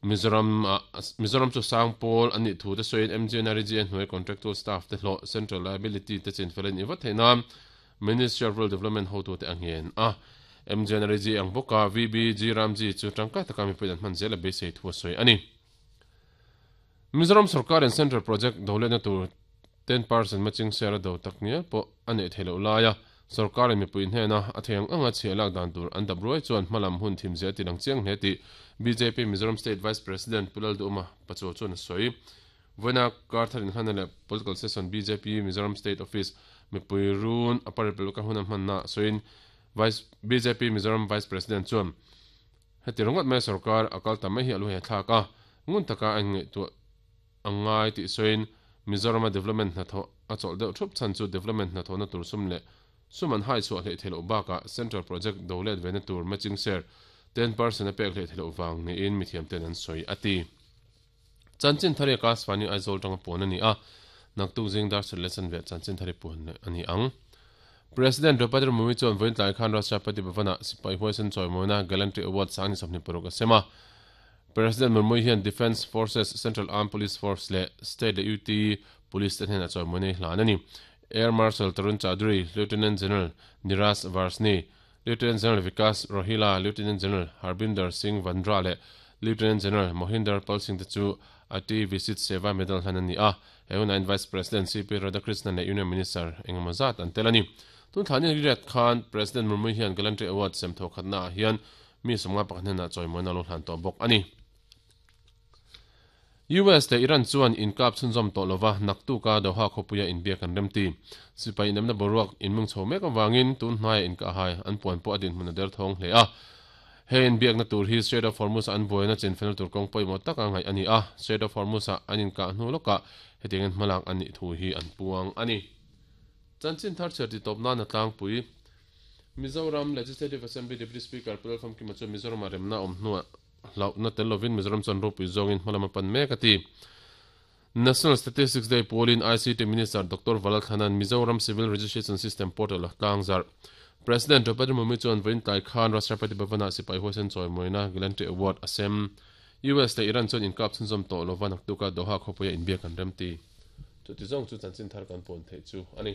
Mizoram ah Mizoram chu sang pawl an nih thu te sawiin MGNREGA hnuai contractual staff te hlawh central liability te chinfel a nih vat theih nan Ministry of Rural Development hotute a ngen a. MGNREGA ang bawka VBG Ramji chu tangkai taka mipuiin an hman zel a beisei thu a sawi a ni. Mizoram sorkarin Central Project doletna tur 10% matching share a do tak ngial pawh a neih theih loh laia sorkarin mipui hnena a thei ang anga chhiah lak dan tur an dap ruai chuan hmalam hun thim zia a ti lang chiang hle tih bjp Mizoram State Vice President Pu Lalduhma Pachuau chuan a sawi. Vawiina Karthar inhlanna leh Political Session bjp Mizoram State Office mipui run a paripelka huna hmanna sawiin Vice bjp Mizoram Vice President chuan Heti ringawt mai sorkar a kal ta mai hi a lu hi a thlak a, ngun taka a inngaihtuah a ngai tih sawiin Mizorama development hnathawh a chawlh deuh thup chhan chu development hnathawhna tur sum leh sum an hai chhuah hleih theih loh bakah central project do let vena tur matching share 10% a pek hleih theih loh vang niin mithiamten an sawi a ti. Chanchin thari a Kasvani Aizawl tanga puan a ni a, naktuk zing dar sarih leh chanve chanchin thari puan leh a ni ang. President Draupadi Murmu chuan vawiin tlai khan Rashtrapati Bhavan-ah sipai huaisen chawimawina Gallantry Award 2026 a sem a. President Murmu hian Defence Forces, Central Armed Police Force leh State leh UT Police te hnenah chawimawina hi hlan a ni. Air Marshal Tarun Chaudhary, Lieutenant General Niraj Varshney, Lieutenant General Vikas Rohilla, Lieutenant General Harbinder Singh Vandra leh Lieutenant General Mohinder Pal Singh te chu Ati Visit Seva Medal hlan an ni a, he hunain Vice President CP Radhakrishnan leh Union Minister engemaw zat an tel a ni. Tun thla ni riat khan President Murmu hian Gallantry Award sem thaw khatnaah hian mi 51 hnenah chawimawina a lo hlan tawh bawk a ni. US leh Iran chuan inkap chhunzawm tawh lova naktuka Doha khawpuia inbiak an remti. Sipai inawmna boruak inmung chho mek avangin tun hnaia inkahhai an puan pawh a dinhmun a derthawng hle a. He inbiakna tur hi Strait of Hormuz-a an buaina chinfelna tur kawng pawimawh taka ngaih a ni a, Strait of Hormuz-a an inkah hnu lawkah hetiangin hmalak an nih thu hi an puang a ni. Chanchin thar chhiar titawp nan a tlangpui. Mizoram Legislative Assembly Deputy Speaker Pu Lalfamkima chuan Mizoramah remna a awm hnuah Hlauhna tel lovin Mizoram chuan ropui zawngin hmalam a pan mek a ti. National Statistics Day pawlin ICT Minister Doctor Valal Thanan Mizoram Civil Registration System Portal a tlang zarh. President Draupadi Murmu chuan vawiin tlai khan Rashtrapati Bhavan-ah sipai huaisen chawimawina Gallantry Award a sem. US leh Iran chuan inkap chhunzawm tawh lova naktuka Doha khawpuia inbiak an remti. Chuti zawng chu chanchin thar kan pawn theih chu a ni.